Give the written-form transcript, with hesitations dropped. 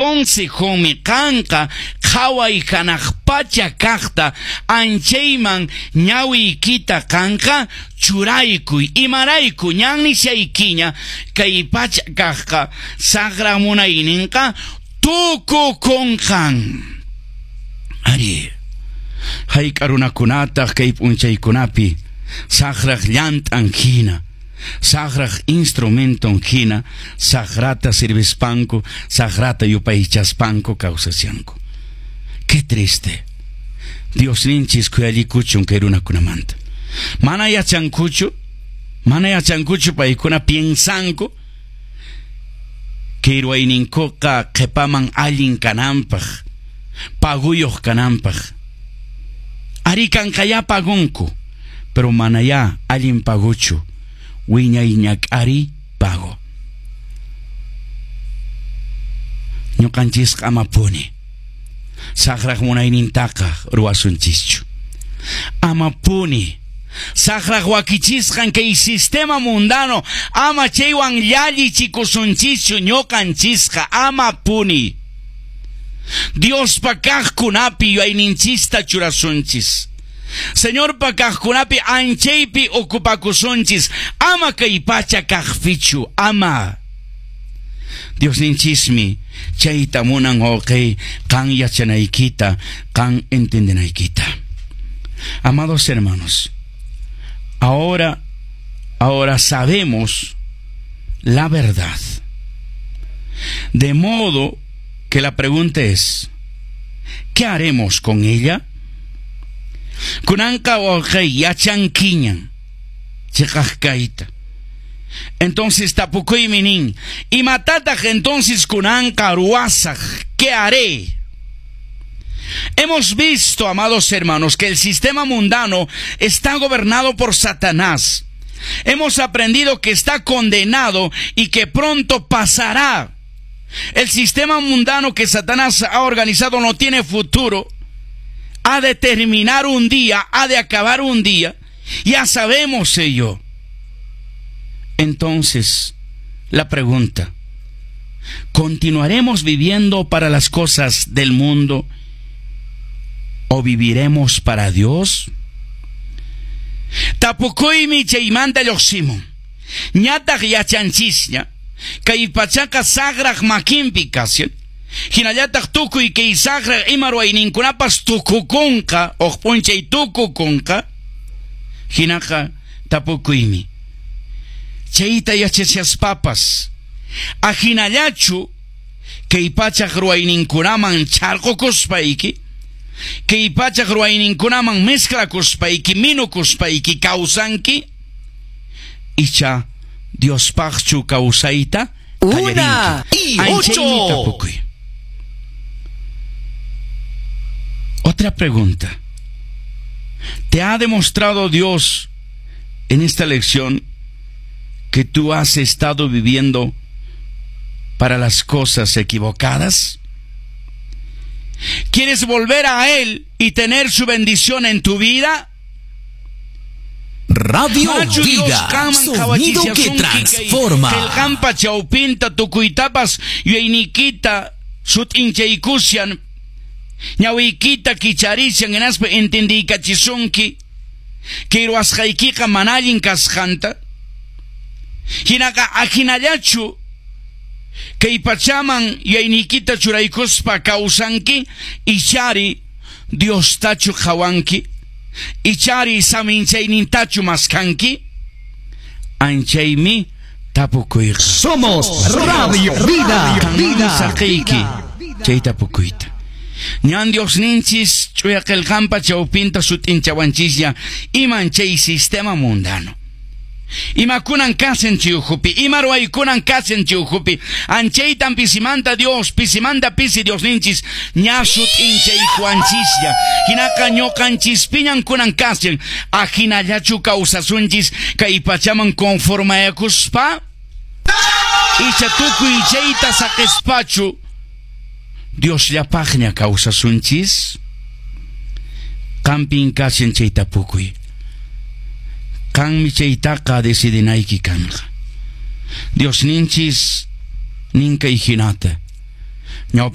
Consejonmi qanqa qhaway hanaq pacha kaqta anchayman ñawiykita qanqa churaykuy. Imarayku ñan nishaykiña kay pacha kaqqa saqra munayninqa tukukunqan. Ari, hayk'a runakunataq kay p'unchaykunapi saqraq llant'an hina, saqraq instrumenton hina, saqrata sirvispanku, saqrata yupaychaspanku kawsashanku. Qué triste. Diosninchis khuyallikuchun kay runakunamanta. Mana yachankuchu, mana yachankuchu paykuna piensanku kay ruwayninkuqa qhipaman allin kananpaq, paguyuq kananpaq. Ari kanqayá pagunku, pero manayá allin paguchu, wiñay ñak'ari pago. Ñuqanchisqa amapuni saqraq munaynintaqa ruwasunchischu. Amapuni saqraq wakichisqan kay sistema mundano ama chaywan llallichikusunchischu ñuqanchisqa amapuni. Diospa kaqkunapi yuyayninchista churasunchis. Señorpa kaqkunapi anchaypi ocupakusunchis, ama kay pacha kaqpichu, ama. Diosninchismi chayta munan wawqi qan yachanaykita, qan entendenaykita. Amados hermanos, ahora sabemos la verdad. De modo que la pregunta es, ¿qué haremos con ella? Kunanqa wawqi yachankiñan chiqaq kayta. Entonces tapukuymi nin, imatataq entonces kunanqa ruwasaq? ¿Qué haré? Hemos visto, amados hermanos, que el sistema mundano está gobernado por Satanás. Hemos aprendido que está condenado y que pronto pasará. El sistema mundano que Satanás ha organizado no tiene futuro. Ha de terminar un día, ha de acabar un día. Ya sabemos ello. Entonces, la pregunta, ¿continuaremos viviendo para las cosas del mundo o viviremos para Dios? Tapukuymi chaymanta lluqsimun. Ñataq yachanchisña, kay pachaqa saqraq makinpi kashan. Hinallataq tukuy kay saqraq ima ruwayninkunapas tukukunqa, huk p'unchay tukukunqa. Hinaqa tapukuymi. Chayta yachachaspapas, ahinallachu kay pachaq ruwayninkunaman charqukuspayki, kay pachaq ruwayninkunaman mezclakuspayki, minukuspayki kawsanki, icha Diospaqchu kawsayta Una y Anchaymi ocho. tapukuy. Otra pregunta. ¿Te ha demostrado Dios en esta lección que tú has estado viviendo para las cosas equivocadas? ¿Quieres volver a Él y tener su bendición en tu vida? Radio Manachu Dios Vida, qanman sonido que qhawachisasunki kay transforma. Qillqanpa chawpinta tukuytapas yuyayniykita sut'inchaykushan, ñawiykita kicharishan hinaspa entendiykachisunki kay ruwasqaykiqa mana allin kasqanta. Hinaqa ahinallachu kay pachaman yuyayniykita churaykuspa kawsanki, ichari Diostachu qhawanki, ichari saminchaynintachu maskanki. Anchaymi tapukuyqa. Somos Radio Vida, Qanmanmi Vida. saqiyki chay tapukuyta. Ñan Diosninchis ch'uya qillqanpa chawpinta sut'inchawanchisña iman chay sistema mundano. Imakunan kasen chay ukhupi, ima ruwaykunan kasen chay ukhupi, anchaytan pisimanta Dios, pisimanta pisi Diosninchis, ña sut'inchaykuwanchisña. Hinaqa ñuqanchispiñan kunan kasen, ahinallachu kawsasunchis kay pachaman conformayakuspa, icha tukuy chayta saqispachu Diosllapaqña kawsasunchis. Qampin kasen chay tapukuy. Qanmi chaytaqa decidinayki kanqa. Diosninchis ninkay hinata.